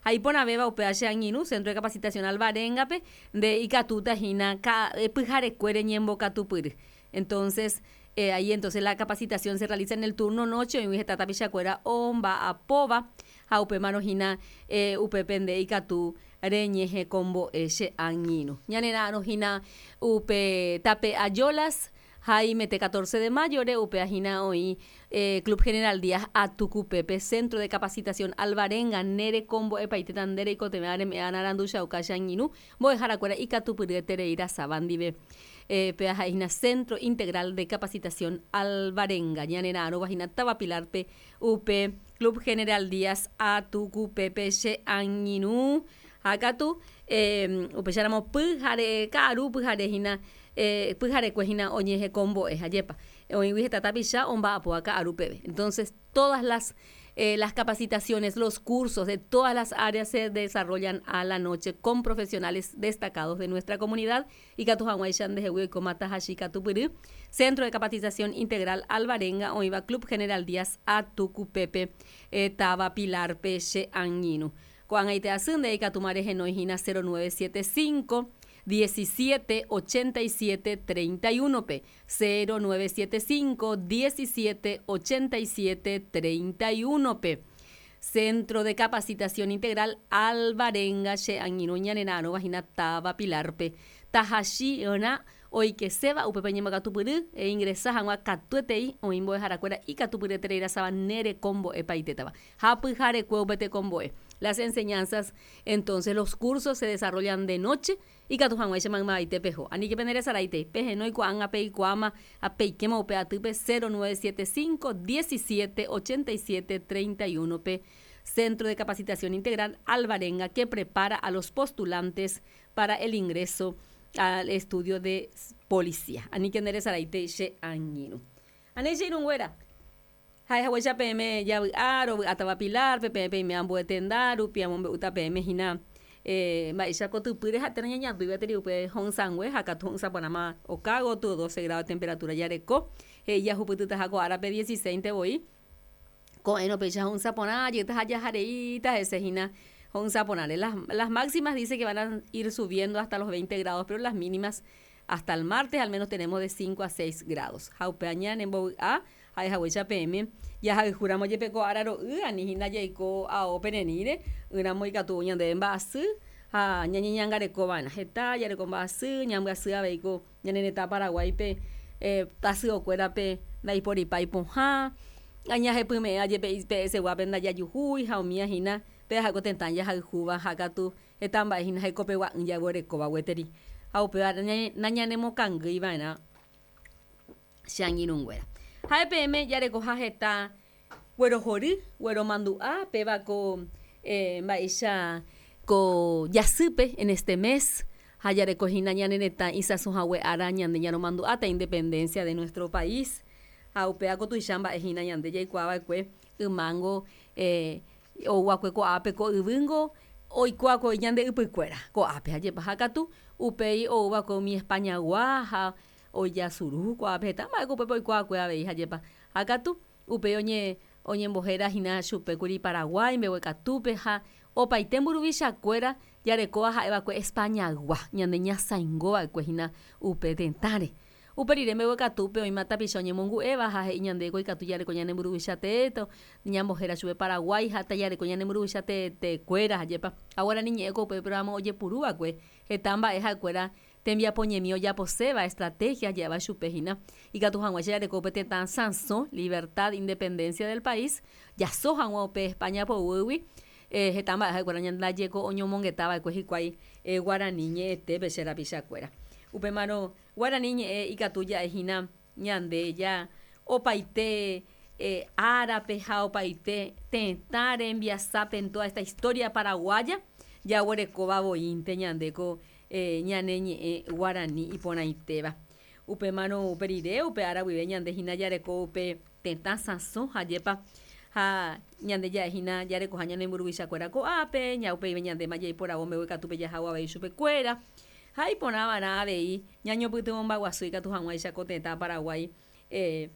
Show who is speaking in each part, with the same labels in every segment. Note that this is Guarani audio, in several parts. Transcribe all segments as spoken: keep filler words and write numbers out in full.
Speaker 1: Ha iporãvéva upéva che angirũ Centro de Capacitación Alvarenga-pe nde ikatúta hína pyharekuére ñembokatupyry. Entonces, eh, ahí entonces la capacitación se realiza en el turno noche, oĩgui heta tapichakuéra omba'apóva ha upémarõ hína eh, upépe nde ikatu reñehekombo'e che angirũ. Ñanera'arõ hína upe tape Ayolas Jaime catorce de mayo-re upéva hína oĩ eh, Club General Díaz Atukupépe Centro de Capacitación Alvarenga nerekombo'epaitéta nde reikotevẽ reme'ẽ aranduchauka che angirũ mbo'eharakuéra ikatupyryeterei rasáva ndive. Eh, péva ha'ehína Centro Integral de Capacitación Alvarenga ñanera'arõva hína táva Pilar-pe upe Club General Díaz Atukupépe che angirũ ha katu eh, upéicharamo pyhare ka'aru pyhare hína eh, pyharekue hína oñehekombo'e hajépa oĩgui heta tapicha omba'apóva ka'aru peve. Entonces todas las eh, las capacitaciones, los cursos de todas las áreas se desarrollan a la noche con profesionales destacados de nuestra comunidad. Ikatu hag̃uáicha ndehegui oikóma tahachi katupyry Centro de Capacitación Integral Alvarenga oĩva Club General Díaz Atukupépe eh, táva Pilar-pe che angirũ. Ko'ág̃aite asy nde ikatúma rehenói hína cero nueve siete cinco diecisiete ochenta y siete treinta y uno-pe cero nueve siete cinco diecisiete ochenta y siete treinta y uno-pe Centro de Capacitación Integral Alvarenga che angirũ ñanera'arõva hína táva Pilar-pe tahachi'ỹrã oikeséva upépe ñembokatupyry e ingresa hag̃ua katuetei oĩ mbo'eharakuéra ikatupyryeterei rasáva nerekombo'epaitétava ha pyharekue upe tekombo'e. Las enseñanzas, entonces los cursos se desarrollan de noche ikatu hag̃uáicha maymavaite peho. Aníke penderesaraitei pehenói ko'ág̃a peikuaáma ha peikéma upe atýpe cero nueve siete cinco diecisiete ochenta y siete treinta y uno-pe Centro de Capacitación Integral Alvarenga que prepara a los postulantes para el ingreso al estudio de policía. Aníke nderesaraitei che angirũ. Anéi che irũnguéra ha'ehaguéicha peẽme javy'a rovy'átava Pilar-pe peẽ peime ambue tenda rupi amombe'úta peẽme hína eh, mba'éicha kotypýre ha térã ñañandúivateri upe ho'ysãngue ha katu ho'ysãporãma oka gotyo doce grado de temperatura jareko he'i jahupytytaha ko árape dieciséis voi ko'ẽrõ péicha ho'ysãporã jeytaha jahareíta hese hína ho'ysãporãre. Las, las máximas dice que van a ir subiendo hasta los veinte grados, pero las mínimas hasta el martes al menos tenemos de cinco a seis grados. Ha upe ñanembovy'a ha'ehaguéicha peẽme jahayhúramo jepe ko ára ro'y ani hína jaiko ao pereníre ỹramo ikatu ñandéve mba'asy ha ñañeñangarekova'erã heta jareko mba'asy ñambyasy avei ko ñane retã Paraguáipe eh, tasyokuérape ndaiporipái pohã añahepyme'ẽ jepe pe eseguápe ndajajuhúi ha umía hína péva ha'éko tetã jahayhúva ha katu heta mba'e hína hekopegua'ỹ jaguerekóva gueteri ha upéva nañanemokangýiva'erã che angirũnguéra. Ha'e peẽme jarekoha heta guerohory, gueromandu'a péva ko eh, mba'éicha ko jasýpe en este mes ha jareko hína ñane retã isãsohague ára ñande ñaromandu'áta independencia de nuestro país ha upéva ko tuicha mba'e hína ñande jaikuaava'ekue ymango eh, ouakue ko'ápe ko yvýngo oikuaakue ñande ypykuéra ko'ápe hajepa ha katu upéi ouva'ekue umi Españagua ha ojasuru ko'ápe heta mba'éko upépe oikuaakue avei hajepa ha katu upéi oñe oñembohéra hína chupékuri Paraguái mbeguekatúpe ha opaite mburuvichakuéra jarekóva ha'eva'ekue Españagua ñande ñasãingova'ekue hína upe tetãre. Upe rire mbeguekatúpe oĩma tapicha oñemongu'éva ha he'i ñandéko ikatu jareko ñane mburuvicha teéto ñambohéra chupe Paraguái ha tajareko ñane mburuvicha teetekuéra hajepa ha guarani ñe'ẽ ko upe programa ojepurúva'ekue heta mba'e ha'ekuéra tembiapoñemi ojaposéva estrategia ja'éva chupe hína ikatu hag̃uáicha jareko upe tetã sãso libertad independencia del país jaso hag̃ua upe España poguýgui eh, heta mba'e ha'ekuéra ndajeko oñomongetava'ekue hikuái eh, guarani ñe'ẽtépe che rapichakuéra. Upémarõ guarani ñe'ẽ ikatu ja'e hína ñande ja opaite eh, árape ha opaite tetã rembiasápe en toda esta historia paraguaya jaguerekóva voínte ñandéko eh, ñane ñe'ẽ guarani iporãitéva. Upémarõ upe rire upe ára guive ñande hína jareko upe tetã sãso hajépa ha ñande ja'e hína jarekoha ñane mburuvichakuéra ko'ápe ña upéive ñandéma jaiporavo mbeguekatúpe jahávo avei chupekuéra ha iporãva'erã avei ñañopytyvõmbaguasu ikatu hag̃uáicha ko tetã Paraguái eh,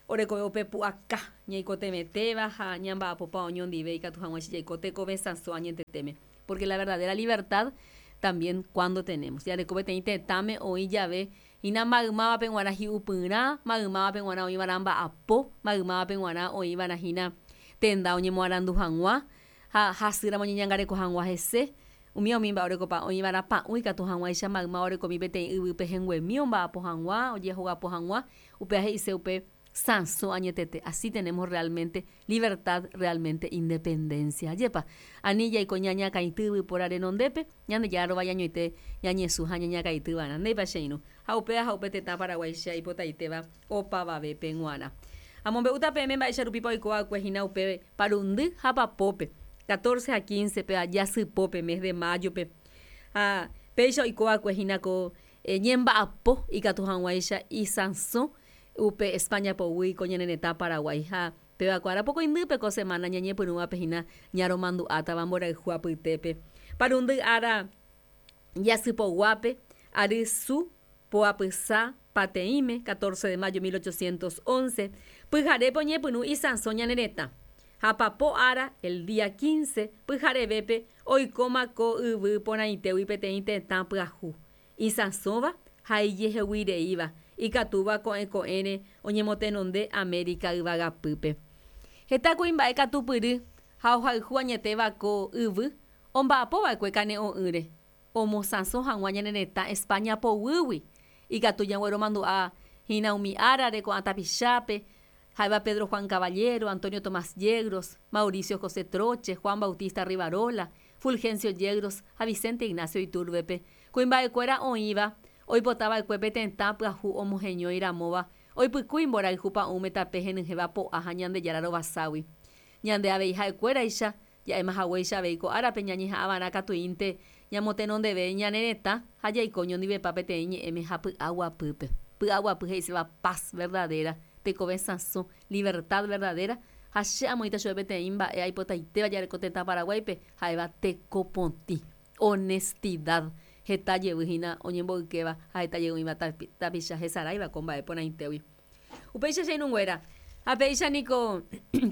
Speaker 1: Orekove upe pu'aka ñaikotevẽtéva ha ñamba'apopa oñondive ikatu hag̃uáicha jaiko tekove sãso añeteteme. Porque la verdadera libertad también cuando tenemos. Jareko peteĩ tetãme oĩ jave hína maymávape g̃uarã hi'upyrã, maymávape g̃uarã oĩva'erã mba'apo, maymávape g̃uarã oĩva'erã hína tenda oñemoarandu hag̃ua ha hasýramo oñeñangareko hag̃ua hese. Umi umi mba'e orekopa oĩva'erã pa'ũ ikatu hag̃uáicha maymáva orekomi peteĩ yvýpe henguemi omba'apo hag̃ua, ojehogapo hag̃ua, upéva he'ise upe sãso añetete. Así tenemos realmente libertad, realmente independencia. Ajépa, ani jaiko ñañakãity yvypóra renondépe, Ñandejára rovañañoite ñañesũ ha ñañakãityva'erã. Ndéipa che irũ. Ha upéva ha upe tetã Paraguáicha ipotaitéva opavavépe g̃uarã. Amombe'úta peẽme mba'éicha rupípa oiko'akue hína upe parundy ha papópe, catorce ha quince pe jasypópe mes de mayo-pe. Ha péicha oiko'akue hína ko ñemba'apo ikatu hag̃uáicha isãso upe España poguy ko ñane retã Paraguái ha péva ko arapokõindýpe ko semana ñañepyrũvape hína ñaromandu'átava mborayhu apytépe. Parundy ára jasypoguápe ary su poapysa pateĩme, catorce de mayo mil ochocientos once, pyharépe oñepyrũ isãso ñane retã. Ha papo ára, el día quince, pyharevépe oikóma ko yvy porãitégui peteĩ tetã pyahu. Isãsóva ha ijeheguireíva, ikatúva ko'ẽ ko'ẽre oñemotenonde América yvagapýpe. Heta kuimba'e katupyry ha ohayhu añetéva ko yvy omba'apova'ekue kane'õ'ỹre, omosãso hag̃ua ñane retã España poguýgui. Ikatu ñagueromandu'a hína umi árare ko'ã tapichápe, ha'éva Pedro Juan Caballero, Antonio Tomás Yegros, Mauricio José Troche, Juan Bautista Rivarola, Fulgencio Yegros ha Vicente Ignacio Iturbe-pe. Kuimba'ekuéra oĩva oipotava'ekue pe tetã pyahu omoheñói ramóva oipykúi mborayhu pa'ũme tape henyhẽva po'a ha Ñandejára rovaságui. Ñande avei ha'ekuéraicha, ja'éma haguéicha avei ko árape ñañeha'ãva'erã katuínte ñamotenondeve ñane retã ha jaiko ñondivepa peteĩ ñe'ẽme ha py'aguapýpe. Py'aguapy he'iséva paz verdadera, tekove sãso, libertad verdadera, ha che amoĩta chupe peteĩ mba'e aipotaitéva jareko tetã Paraguáipe ha'éva tekopotĩ, honestidad, heta jevy hína oñemboykéva ha heta jey oĩva tapicha hesaráiva ko mba'e porãitégui. Upéicha che irũnguéra, ha péicha niko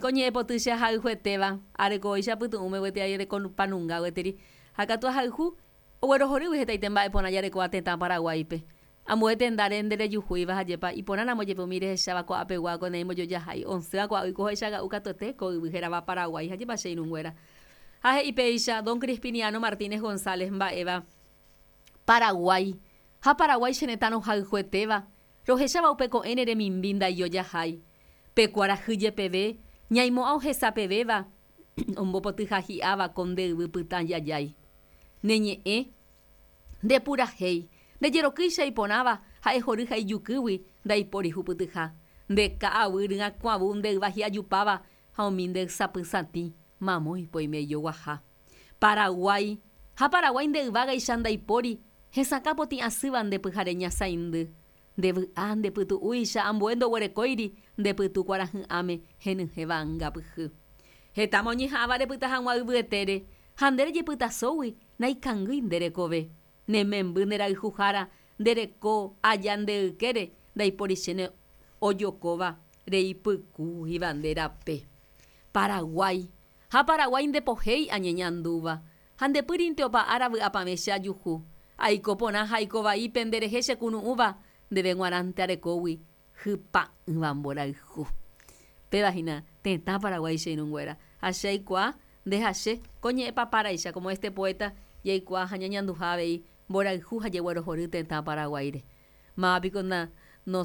Speaker 1: ko ñe'ẽpoty che ahayhuetéva, arekóicha pytu'ũme gueteri arekopanunga gueteri, ha katu ahayhu oguerohorýgui hetaite mba'e porã jarekóva tetã Paraguáipe. Ambue tendáre nderejuhúiva hajépa iporãramo jepe umi rehecháva ko'ápegua ko neimbojojahá'i osẽva ko'águi ohecha katuete ko yvy hérava Paraguái hajépa che irũnguéra. Ha he'i péicha don Crispiniano Martínez González mba'éva Paraguái ha Paraguái che retã rohayhuetéva rohecháva upe ko'ẽre remimbi ndaijojahái. Pe kuarahy jepeve ñaimo'ã ohesapevéva ombopotyha hi'áva ko nde yvy pytã jajái. Ne ñe'ẽ nde purahéi ndejerokýicha iporãva ha'e hory ha ijukýgui ndaipóri hupytyha. Nde ka'aguy ryakuãvu nde yva hi'ajupáva ha umi nde ysapysatĩ mamói poime ijoguaha. Paraguái ha Paraguái nde yvágaicha ndaipóri hesakã potĩ asýva nde pyhare ñasãindy. Nde vy'a nde pytu'úicha ambue ndoguerekóiri nde pytu kuarahy'ãme henyhẽva angapyhy. Hetáma oñeha'ãva repyta hag̃ua yvyetére ha nde rejepytasógui naikangýi nde rekove. Ne memby nde rayhuhára nde reko aja nde ykére ndaipóri chéne ojokóva reipykúiva nde rape. Paraguái ha Paraguái ndepohéi añeñandúva ha ndepýrinte opa ára vy'apavẽ che ajuhu. Aiko porã ha aiko vaípe nderehe che kunu'ũva ndéve g̃uarãnte arekógui hypa'ỹva mborayhu. Péva hína tetã Paraguái che irũnguéra. Ha che aikuaa nde ha che ko ñe'ẽpapáraicha como este poeta jaikuaa ha ñañanduha avei mborayhu ha jeguerohory tetã Paraguáire. Mávapiko na no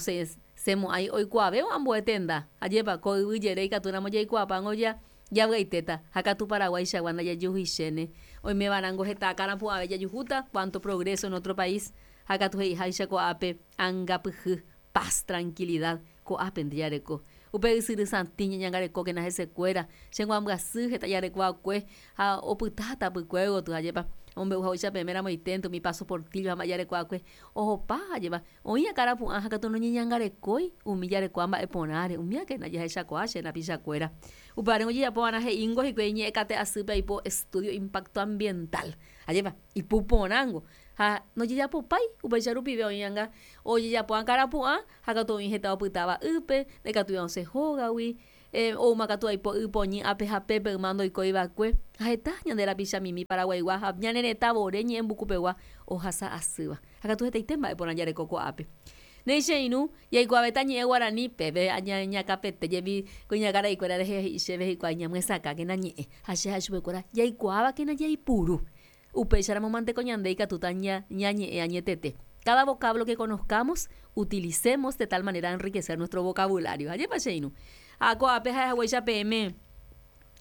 Speaker 1: semo'ãi oikuaavévo ambue tenda. Ajépa ko yvy jere ikatúramo jaikuaapángo ja javy'aitéta ha katu Paraguaichagua ndajajuhuichéne. Oimeva'erãngo heta akãrapu'ãve jajuhúta cuánto progreso en otro país ha katu he'iháicha ko'ápe angapyhy, paz, tranquilidad ko'ápe nde jareko. Upe ysyry satĩ ñañangarekókena hesekuéra, che nguambyasy heta jareko'akue ha opytáta pykuégotyo ajépa Omombe'u haguéicha ramoiténte umi Paso Portillo ha mba'e jarekuaakue ohopa ajépa oĩ akarapu'ã ha katu noñeñangarekói umi jarekua mba'e porãre umíakena jahechakuaa che rapichakuéra. Upévare ojejapova'erã he'íngo hikuái ñe'ẽkate asýpe aipo estudio impacto ambiental. Ajépa ipuporãngo ha nojejapopái upéicha rupive oĩanga ojejapo akarapu'ã ha katu oĩ heta opytáva ýpe ndaikatúi osẽ hógagui eh, oúmakatu aipo y poñy ápe ha pépe yma ndoikóiva'ekue ha heta ñande rapichamimi Paraguaigua ha ñane retã vore ñe'ẽmbukupegua ohasa asýva ha katu hetaite mba'e porã jareko ko'ápe. Néi che irũ jaikuaavéta ñe'ẽ guarani pépe ñakapete jepi kuñakaraikuéra rehe he'i chéve hikuái ñamyesakãkena ñe'ẽ ha che ha'e chupekuéra jaikuaávakena jaipuru upéicharamo mante ko ñande ikatúta ñañe'ẽ añetete. Cada vocablo que conozcamos utilicemos de tal manera enriquecer nuestro vocabulario. Ajépa che irũ ha ko'ápe ha'ehaguéicha peẽme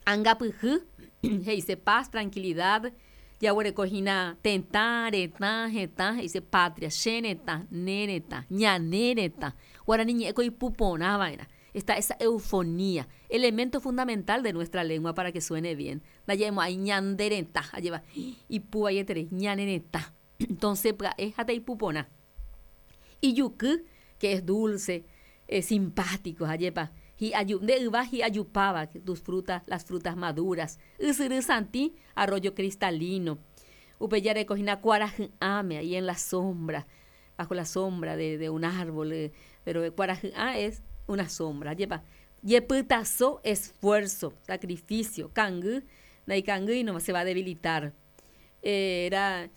Speaker 1: angapyhy he'ise paz, tranquilidad jaguerekohína tetã, retã, hetã he'ise patria, che retã, ne retã, ñane retã guarani ñe'ẽko ipuporãva'erã. Está esa eufonía, elemento fundamental de nuestra lengua para que suene bien. Ndaja'emo'ãi ñande retã ajépa ipuvaieterei ñane retã. Entonces pya'e ha taipuporã. Ijuky, que es dulce, es simpático, ajépa hi'aju nde yva hi'ajupáva tus frutas, las frutas maduras. Ysyry santĩ, arroyo cristalino. Upe jarekohína kuarahy'ãme ahí en la sombra, bajo la sombra de, de un árbol, eh, pero kuarahy'ã es una sombra, ajépa jepytaso, esfuerzo, sacrificio, kangy, ndaikangýi no se va a debilitar. Era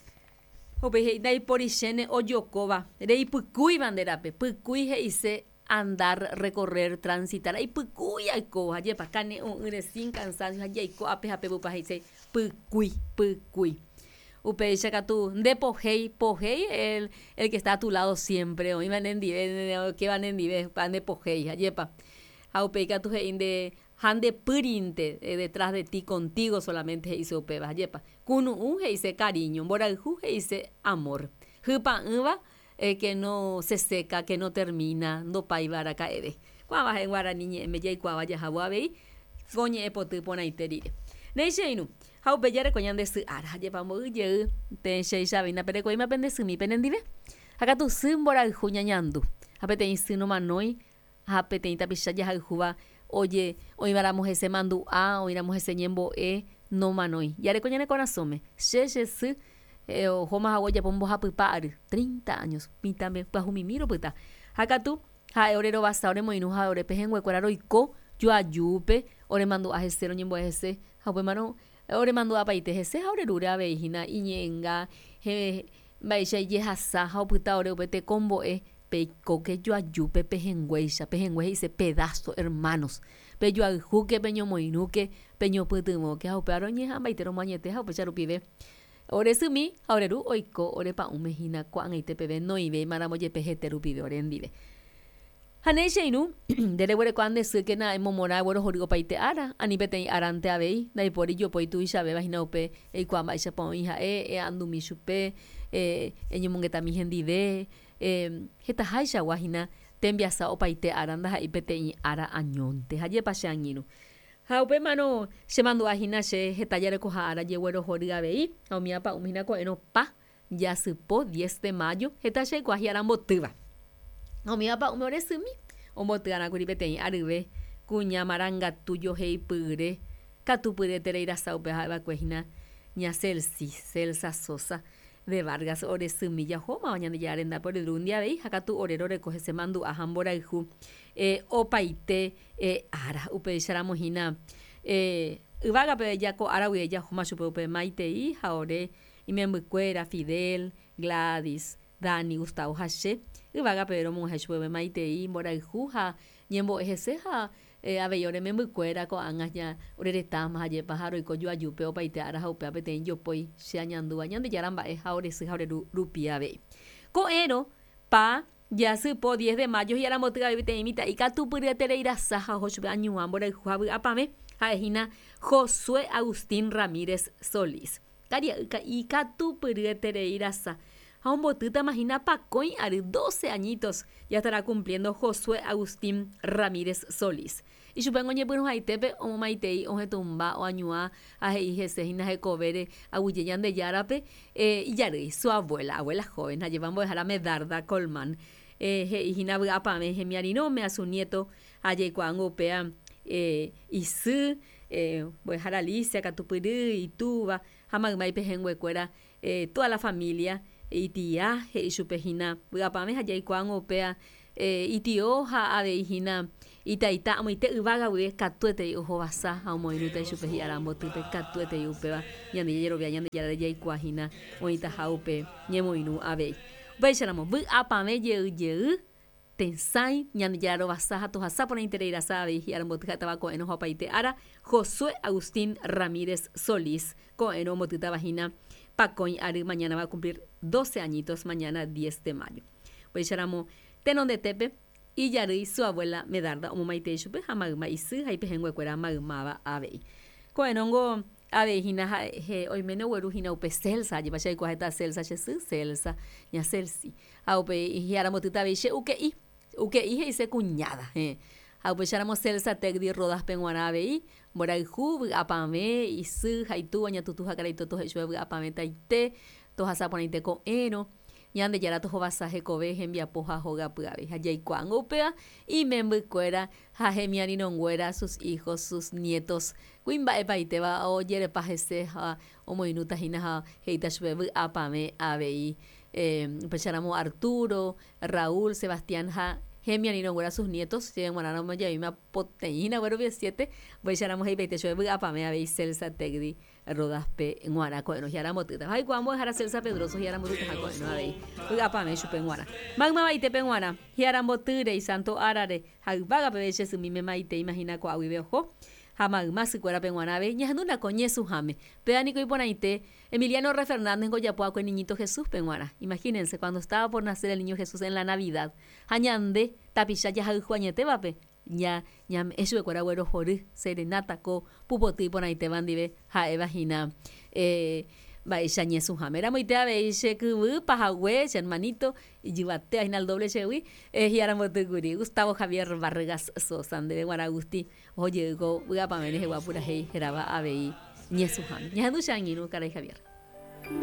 Speaker 1: upéi he'i ndaiporichéne ojokóva reipykúiva nde rape, pykúi he'ise andar, recorrer, transitar, aipykúi aikóva ajépa kane'õ'ỹre sin cansancio ha jaiko ápe ha pépe he'ise pykúi, pykúi. Upéicha katu ndepohéi, pohéi el, el que está a tu lado siempre oĩva nendive okéva nendive upéva ndepohéi ajépa ha upéi katu he'i nde ha ndepýrinte detrás de ti contigo solamente he'ise upéva ajépa kunu'ũ he'ise cariño, mborayhu he'ise amor hypa'ỹva eh, que no se seca, que no termina, ndopáiva araka'eve. Ko'ãva ha'e guarani ñe'ẽme jaikuaáva jahávo avei ko ñe'ẽpoty porãite rire. Néi che irũ ha upe jareko ñande sy ára ajépa mboy jey péicha perekovéima pende symi penendive ha katu sy mborayhu ñañandu ha peteĩ sy nomanói ha peteĩ tapicha jahayhúva oje oĩvaramo hese mandu'a oĩramo hese ñembo'e nomanói jareko ñane korasõme che che sy eh, ohóma hague ojapo mbohapypa ary treinta años mitãme pyahumimi ropyta ha katu ha'e orerovasa oremoirũ ha ore pehẽnguekuéra roiko joajúpe oremandu'a hese roñembo'e hese ha upémarõ oremandu'apaite hese ha orerúre avei hína iñe'ẽnga mba'éicha ijehasa ha opyta ore upe tekombo'e peikóke joajúpe pehẽnguéicha pehẽngue he'ise pedazo hermanos pejoayhúke peñomoirũke peñopytyvõke ha upéva roñeha'ãmbaite romoañete ha upéicha rupive ore symi ha oreru oiko orepa'ũme hína ko'ag̃aite peve noivéimaramo jepe hete rupive orendive. Ha néi che irũ nde reguereko nde sýkena emomorã eguerohory opaite ára ani peteĩ árante avei ndaipóri jopói tuichavéva hína upe eikuaa mba'éichapa oĩ ha'e e'andumi chupe eh, eñomongetami hendive eh, hetahaichagua hína tembiasa opaite ára ndaha'éi peteĩ ára añónte hajépa che angirũ. Ha upémarõ chemandu'a hína che heta jarekoha ára jeguerohory avei ha umi apa'ũme hína ko'ẽrõ pa jasypo diez de mayo heta che aikuaa hi'arambotýva. Ha umi apa'ũme ore symi omboty'arãkuri peteĩ aryve kuña marangatu joheipyre katupyretereirasa upe ha'eva'ekue hína ña Celsi, Celsa Sosa de Vargas ore symi jahómava Ñandejára rendápe orerúndi avei ha katu ore roreko hese mandu'a ha mborayhu eh, opaite eh, ára upéicharamo hína eh, yvágape jako ára guive jahóma chupe upe maitei ha ore imembykuéra Fidel, Gladys, Dani, Gustavo ha che yvágape romog̃uahẽ chupe upe maitei mborayhu ha ñembo'e hese ha eh, avei ore membykuéra ko'ág̃a ña ore retãma hajépa ha roiko joajúpe opaite ára ha upéva peteĩ jopói che añandúva Ñandejára mba'e ha ore sy ha ore ru rupi avei. Ko'ẽrõ pa jasypo diez de mayo hi'aramboty avei peteĩ mitã'i katupyryetereirasa ha oho chupe añuã mborayhu ha vy'apavẽ ha'ehína Josué Agustín Ramírez Solís. Karia'y ikatupyryetereirasa Ha ombotyta mahína pakõi ary, doce añitos ya estará cumpliendo Josué Agustín Ramírez Solís. Ichupe oñepyrũhaitépe omomaitei ohetũmba oañuã ha he'i hese hína hekovére aguyje Ñandejárape eh, ijarýi su abuela, abuela joven, hajépa mbo'ehára Medarda Colmán. Eh, he'i hína vy'apavẽ hemiarirõme a su nieto ha jaikuaángo upéa eh, isy, eh, mbo'ehára Alicia katupyry, itúva ha mayma ipehẽnguekuéra, eh, toda la familia itia he'i chupe hína vy'apavẽ ha jaikuaángo upéa eh, itio ha avei hína itaita amoite yvága guive katuetei ohovasa ha omoirũta ichupe hi'ára mbotýpe katuetei upéva ñande jajerovia Ñandejára jaikuaa hína oĩtaha upe ñemoirũ avei. Upéicharamo vy'apavẽ jey jey tesãi Ñandejára rovasa ha tohasa porãitereirasa avei hi'ára mboty ha'étava ko'ẽrõ ha opaite ára Josué Agustín Ramírez Solís ko'ẽrõ ombotýtava hína pakõi ary mañana va a cumplir doce añitos mañana diez de mayo. Upéicharamo tenondetépe ijarýi su abuela Medarda omomaitei chupe ha mayma isy ha ipehẽnguekuéra maymáva avei. Ko'ẽrõngo avei hína ha'e oiméne ogueru hína upe Celsa, ajépa che aikuaa heta Celsa che sy, Celsa, ña Celsi. Ha upe hi'ára mbotýta avei che uke'i, uke'i he'ise cuñada, héẽ. Ha upéicharamo Celsa Tegdi Rodaspe g̃uarã avei, mborayhu, vy'apavẽ, isy ha itúva ñatutu ha karai toto he'i chupe vy'apavẽtaite, tohasa porãite ko'ẽrõ, Ñandejára tohovasa hekove hembiapo ha hogapy avei. Ha jaikuaángo upéva imembykuéra ha hemiarirõnguéra, sus hijos, sus nietos, kuimba'epaitéva ojerepa hese ha omoirũta hína ha he'íta chupe vy'apavẽ avei. Eh, upéicharamo Arturo, Raúl, Sebastián ha hemiarirõnguéra sus nietos, chéve g̃uarãramo javéima poteĩna guerovia siete, upéicharamo he'ipaite chupe vy'apavẽ avei Celsa Tegdi Rodaspe g̃uarã ko'ẽrõ hi'ára mbotýta. Ha aikuaa mbo'ehára Celsa Pedroso hi'ára mbotytaha ko'ẽrõ avei vy'apavẽ chupe g̃uarã. Maymavaite g̃uarã hi'ára mbotýre isanto árare ha yvága peve che symíme maitei imagina ko'águive oho ha mayma sykuérape g̃uarã avei ñahendúna ko ñesũháme. Péva niko iporãite Emiliano R. Fernández ojapo niñito Jesúspe g̃uarã. Imagínense cuando estaba por nacer el niño Jesús en la Navidad. Ha ñande tapicha jahayhu añetévape ña ñame'ẽ chupekuéra guerohory serenata ko pupoty iporãitéva ndive ha'éva hína eh, mba'éicha ñesũháme. Ramoite avei che kyvy pahague che hermanito ijyvate hína el doble chegui eh, hi'ára mbotýkuri Gustavo Javier Vargas Sosa ndéve g̃uarã Agusti ohojey ko vy'apavẽ rehegua purahéi hérava avei ñesũháme. Ñahendu che angirũ karai Javier.